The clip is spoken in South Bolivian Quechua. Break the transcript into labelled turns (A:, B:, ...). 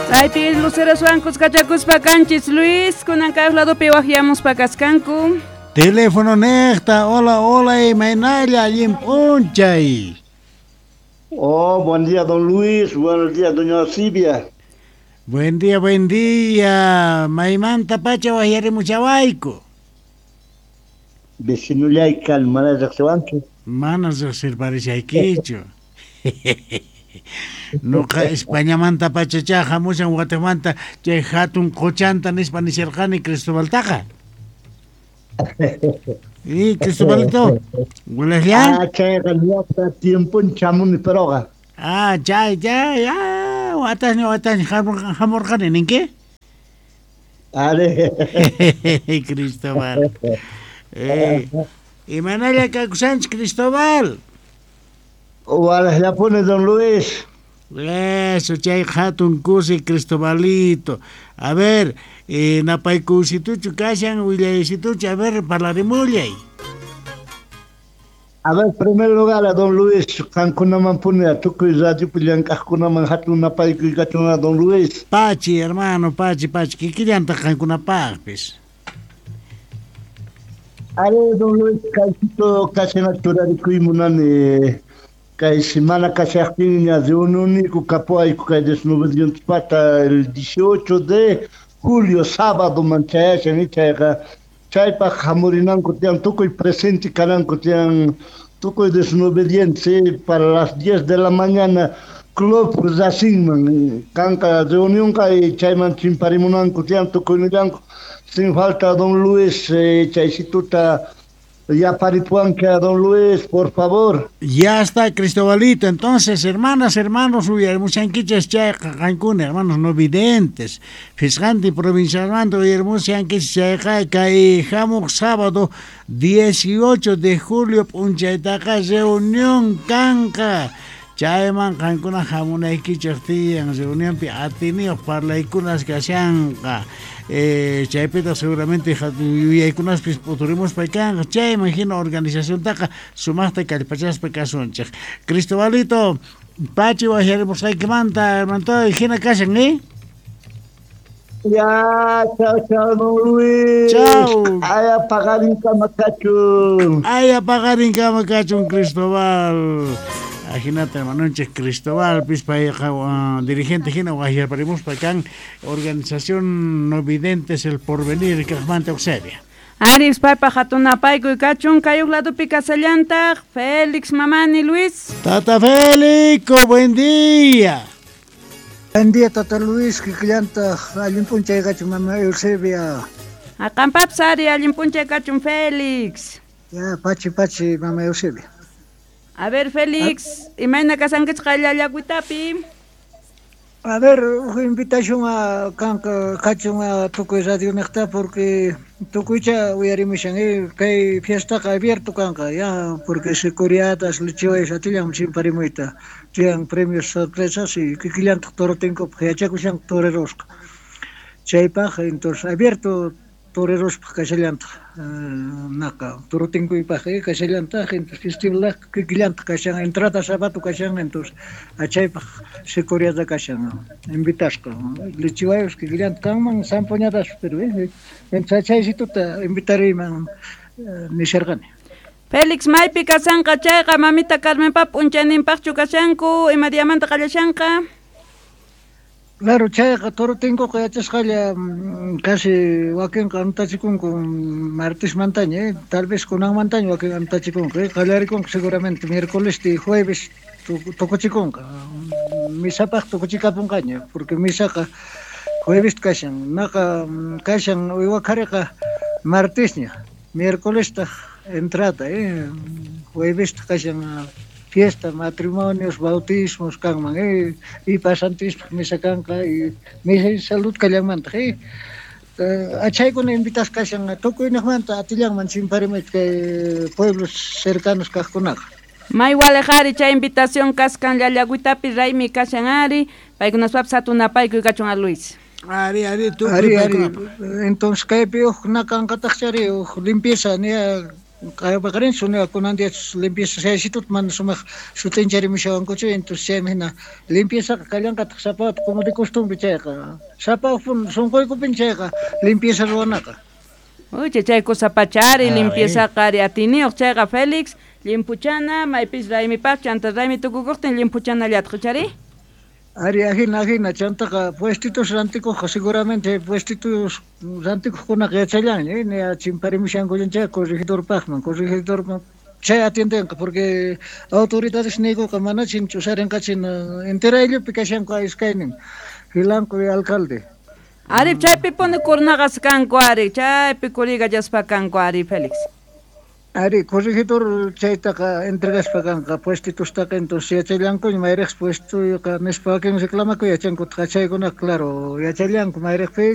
A: Chaypi luceroswan kuskachakuspa kanchis Luis, kunan kay ladopi waqyamuspa kaskanku.
B: Teléfono neqta, hola, hola, imaynalla, allin p'unchay.
C: Oh, buen día, don Luis. Buenos días, doña Silvia.
B: Buen día, buen día. Maymanta pacha waqyarimuchawayku.
C: Vecinullay kan, mana riqsiwanchu.
B: Mana riqsirparishaykichu. Nuqa Españamanta pachachá hamushan watiqmanta chay hatun qochanta nispa nisharqani Cristobaltaqa. Y Cristobalito, ¿wilaqlla?
C: Ah, chayqa ñuqa tiempon chamuni peroqa.
B: Ah, chay, chay, ah, watasña, watasña hamurqani ninki?
C: Are.
B: Cristóbal. Imanalla kakushanchik Cristóbal.
C: Walaqllapuni, don Luis.
B: Eso, chay hatun kusi Cristobalito. A ver, napaykusituchu kashan, willaysituchu, a ver, parlarimullay.
C: A ver, primer lugar, a don Luis, qankunaman puni, a tukuy radiopi llank'aqkunaman hatun napaykuy kachun a don Luis.
B: Pachi, hermano, pachi, pachi, kikillantaq qankunapaqpis.
C: Are, don Luis, kaysito kashana churarikuy munani. Kay semana kashaqtinña reunioniku kapuayku kay desnubedientespata el 18 de julio, sábado manchayashan chayqa chaypaq hamurinanku tiyan tukuy presente kananku tiyan tukuy desobediente para las 10 de la mañana Club Racingman kanqa reunionqa y chayman chimparimunanku tiyan tukuynillanku sin falta don Luis chaysituta ya paripuanca, don Luis, por favor.
B: Ya está, Cristobalito. Entonces, hermanas, hermanos, uyarimushankichis chayqa qankuna, hermanos no videntes. Fisqanti provincialmanta uyarimushankichis chayqa kay hamuq sábado 18 de julio p'unchaytaqa reunión kanqa. Chayman qankuna hamunaykichis tiyan reunionpi atiniyuq parlaykunas kashanqa. Chaypita seguramente yuyaykunaspis p'uturimuspa kanqa. Chayman hina organizaciontaqa sumaqta kallpachaspa kasunchik. Cristobalito, pachi waqyarimusqaykimanta, hermanito, hina kashan, ¿eh?
C: Ya, chao, chao, don Luis.
B: Chao.
C: Ay, paqarin kama kachun.
B: Ay, paqarin kama kachun, Cristóbal. Ajinata, hermanonchik Cristóbal, payqa dirigente hina waqyarparimuspa kan organización No Videntes El Porvenir kaqmanta Eusebia.
A: Aris paypaq hatun napaykuy kachun kay huk ladopi kasallantaq Félix Mamani Luis.
B: Tata Félix, buen día.
D: Buen día, Tata Luis, kikillantaq allin p'unchay kachun mama Eusebia.
A: Aqampapis ari allin p'unchay kachun Félix.
D: Ya, pachi pachi mama Eusebia.
A: A ver, Félix, imayna kasankichik qallallakuytapi?
D: A ver, huk invitación a kanqa kachun a tukuy radioniqta porque tukuycha uyarimushan kay fiestaqa abierto kanqa ya porque securiadas lichiwayas atillan chimparimuyta tiyan premios sorpresas y kikillantaq torotinkupaq yachakushanqa torerosqa chaypaq entonces abierto torerospaq kashallantaq naqa torotinkuypaq kashallantaq entonces festival kikillantaq kashan entrada sábado kashan entonces chaypaq securiada kashan invitasqa lichiwayos kikillantaq kanman zampoñadas pero entonces chaysituta invitariyman nisharqani.
A: Félix, maypi kasanqa chayqa mamita Carmenpa p'unchayninpaqchu kashanku ima diamanta qallashanqa?
D: Claro, chayqa torotinkuqa yachasqalla casi wakinqa antachikunku martesmantaña, tal vez kunanmantaña wakin antachikunku, qallarikunqa seguramente miércoles y jueves tukuchikunqa, misapaq tukuchikapunqaña, porque misaqa jueves kashan, naqa kashan uywaqhariqa martesña, miércolestaq entrada, juevestaq kashan fiesta, matrimonios, bautismos kanman, y pasantispaq misa kanqa, y misa y salud kallanmantaq, achaykuna invitasqa kashan tukuyniqmanta atillanman chimparimayta kay pueblos cercanos kaqkunaqa.
A: May waliq ari chay invitación kaskan llallakuytapi raymi kashan ari, paykunaspapis hatun napaykuy kachun a Luis.
B: Ari, ari, tukuy
D: Ari, ari.
B: paykunapaq.
D: Entonces kaypi huk nakanqataq chari huk limpieza nia Paqarin kunan día limpieza chaysitut mana sumaq sut'incharimushawankuchu, entonces chaymi hina limpieza kallanqataq sapa como de costumbre chayqa sapa sunquykupin chayqa limpieza ruwanaqa.
A: Uy, chay cosa pachari, limpieza qari atiniyuq chayqa Félix, limpuchana, maypis raymipaq chanta raymi tukukuqtin limpuchana llatqa chari?
D: Ari ajina ajina chantaqa puestitos rantikuqqa seguramente puestitos rantikuqkunaqa yachallanña, ni chimparimushankullan chay corregidorpaqman, corregidorman chay atiendenqa porque autoridades niykuqa manachin ch'usarinqachin entera ayllupi kashanku iskaynin Filanco y alcalde.
A: Ari chaypi puni kurnaqas kanku ari, chaypi kurigallaspa kanku ari Félix.
D: Ari corregidor chaytaqa entregaspa kanqa puestitustaqa, entonces yachallankuña mayriqsi puestoyqa nispa wakin reclamakuy yachankutaq chaykunaqa claro yachallanku mayriqpi.